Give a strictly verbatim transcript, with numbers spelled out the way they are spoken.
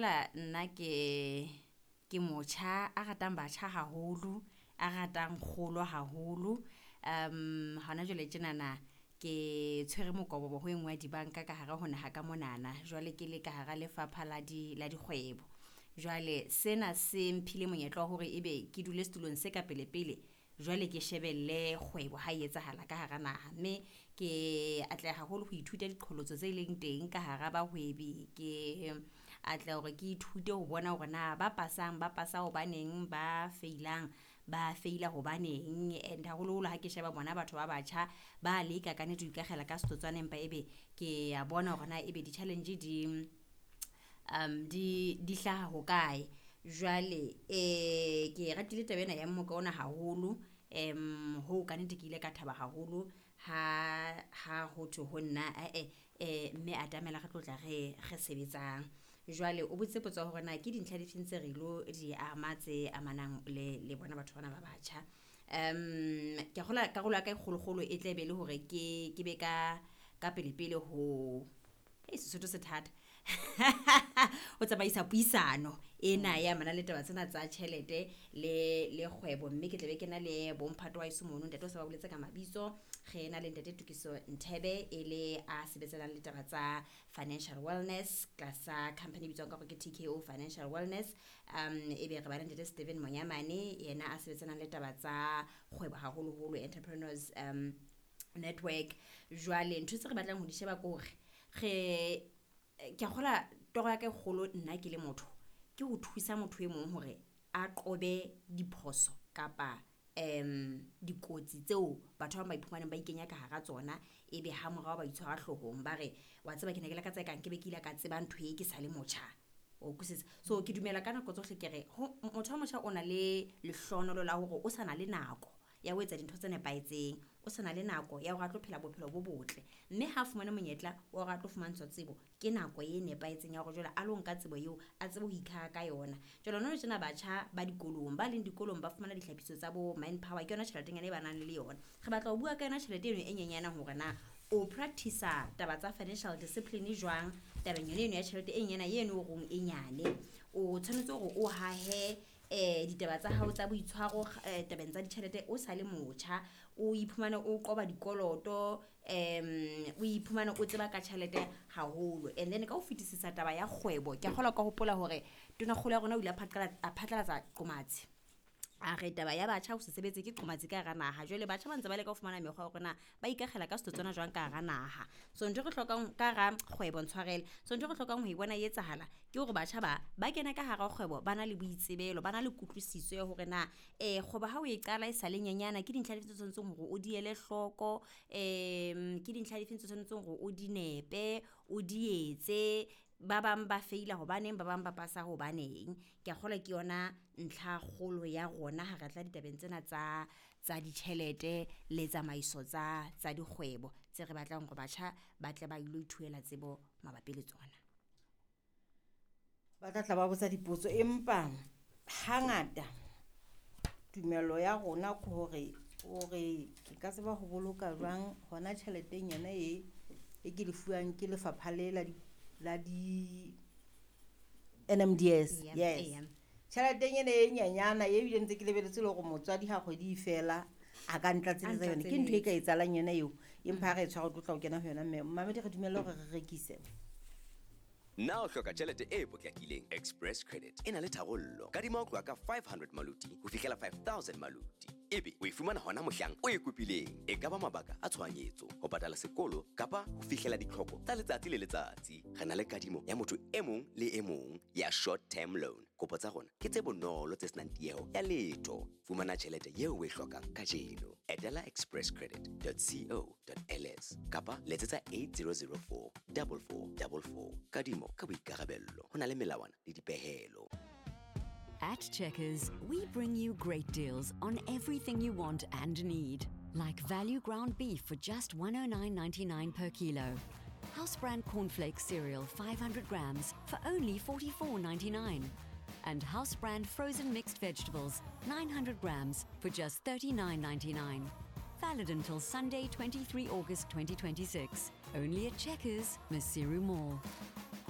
kgola nna ke ke motjha a ratang batjha haholo, a ratang kgolo haholo. Um hona jwale tjenana ke tshwere mokobobo ho e nngwe ya dibanka ka hare ho naha ka monana. Jwale ke le ka hara lefapha la di la dikgwebo. Jwale sena se mphile monyetla wa hore ebe ke dule setulong se ka pele pele. Jwale ke shebelle kgwebo ha e etsahala ka hara naha. Mme ke atleha haholo ho ithuta diqholotso tse leng teng ka hara bahwebi. Ke atleha hore ke ithute ho bona hore na ba pasang ba pasa hobaneng, ba feilang ba feila hobaneng. And haholoholo ha ke sheba bona batho ba batjha ba leka ka nnete ho ikakgela ka setotswana, empa ebe ke a bona hore na ebe di-challenge di um di di hlaha hokae. Jwale eh ke ratile taba ena ya mmoka ona haholo. Em ho ka nnete ke ile ka thaba haholo ha ha ho thwe ho nna ae eh mme atamela re tlo tla re re sebetsang. Jwale o botse potso ya hore na ke dintlha difeng tse re ilo di ama tse amanang le le bona batho bana ba batjha. Um ke kgola karolo ya ka e kgolokgolo e tla be le hore ke ke be ka ka pele pele ho e Sesotho se thata. Ho tsamaisa puisano ena ya mana le taba tsena tsa tjhelete le le kgwebo. Mme ke tlabe ke na le bomphato wa heso mono, ntate o sa ba boletse ka mabitso. Re na le ntate Tokiso Nthebe e le a sebetsanang le taba tsa financial wellness tlasa company e bitswang ka hore ke T K O Financial Wellness. Um ebe re ba le ntate Steven Monyamane yena a sebetsanang le taba tsa kgwebo haholoholo, entrepreneurs um network. Jwale ntho tse re batlang ho di sheba ke hore re ke a kgola toro ya ka e kgolo nna ke le motho ke ho thusa motho e mong hore a qobe diphoso kapa um dikotsi tseo batho ba bang ba iphumanang ba ikenya ka hara tsona, ebe ha morao ba itshwara hloohong ba re wa tseba ke ne ke lakatsa e kang ke be ke ile ka tseba ntho e ke sa le motjha. O utlwisisa? So ke dumela ka nako tsohle ke re ho motho wa motjha o na le lehlonolo la hore o sa na le nako ya ho etsa dintho tse nepahetseng, o sa na le nako ya hore a tlo phela bophelo bo botle. Mme ha fumane monyetla wa hore a tlo fumantshwa tsebo, ke nako e nepahetseng ya hore jwale a lo nka tsebo eo a tsebe ho ikhaha ka yona. Jwale hona tjena batjha ba dikolong, ba leng dikolong ba fumana ditlhapiso tsa bo manpower, ke yona tjheletenyana e ba nang le yona. Re batla ho bua ka yona tjhelete eno e nyenyana hore na o practice-a taba tsa financial discipline jwang tabeng yone eno ya tjhelete e nyana eno o reng e nyane. O tshwanetse hore o hahe eh ditaba tsa hao tsa boitshwaro eh tabeng tsa ditjhelete o sa le motjha, o iphumane o qoba dikoloto, em o iphumane o tseba ka tjhelete haholo. And then ka ho fetisisa taba ya kgwebo, ke a kgolwa ka hopola hore tonakgolo ya rona o ile a phatlalatsa, a phatlalatsa qomatsi. A re taba ya batjha ho se sebetse ke qomatsi ka hara naha. Jwale batjha ba ntse ba leka ho fumana mekgwa ya hore na ba ikakgela ka setotswana jwang ka hara naha. So ntho e re hlokang ka hara kgwebo, ntshwarele. So ntho e re hlokang ho e bona e etsahala ke hore batjha ba ba kene ka hara kgwebo ba na le boitsebelo, ba na le kutlwisiso ya hore na eh kgwebo ha o e qala e sa le nyenyana ke dintlha dife tse tshwanetseng hore o di ele hloko, em ke dintlha dife tse tshwanetseng hore o di nepe, o di etse. Ba bang ba feila hobaneng, ba bang ba pasa hobaneng. Ke a kgolwa ke yona ntlha kgolo ya rona ha re tla ditabeng tsena tsa tsa ditjhelete le tsamaiso tsa tsa dikgwebo tse re batlang hore batjha ba tle ba ilo ithuela tsebo mabapi le tsona. Ba tla tla ba botsa dipotso, empa hangata tumelo ya rona ke hore hore ke ka tseba ho boloka jwang hona tjheleteng yona e e ke lefuwang ke lefapha le la di la di N M D S. Yeah, Yes. yeah. Tjheleteng ena e nyenyana e bile ntse ke lebeletse le hore motswadi ha kgwedi e fela a ka ntlatseletsa A yona. Ke ntho e ka ntlatseletsa. etsahalang yona eo, empa ha re e tshwara o tlo tla o kena ho yona. Mme mamedi re dumelle hore re rekise. Na o hloka tjhelete e potlakileng? Express Credit e na le tharollo. Kadima ho tloha ka five hundred maluti ho fihlela five thousand maluti. Ebe o e fumana hona mohlang o e kopileng. E ka ba mabaka a tshohanyetso, ho patala sekolo kapa ho fihlela ditlhoko tsa letsatsi le letsatsi. Re na le kadimo ya motho e mong le e mong ya short term loan. Kopo tsa rona ke tse bonolo tse senang tieho ya letho. Fumana tjhelete eo o e hlokang kajeno. Etela express credit dot co dot L S kapa letsetsa eight zero zero four double four double four. Kadimo ka boikarabello. Ho na le melawana le dipehelo. At Checkers, we bring you great deals on everything you want and need. Like value ground beef for just one oh nine ninety-nine per kilo. House brand cornflakes cereal five hundred grams for only forty-four ninety-nine. And house brand frozen mixed vegetables nine hundred grams for just thirty-nine ninety-nine. Valid until Sunday, twenty-three August twenty twenty-six. Only at Checkers, Maseru Mall.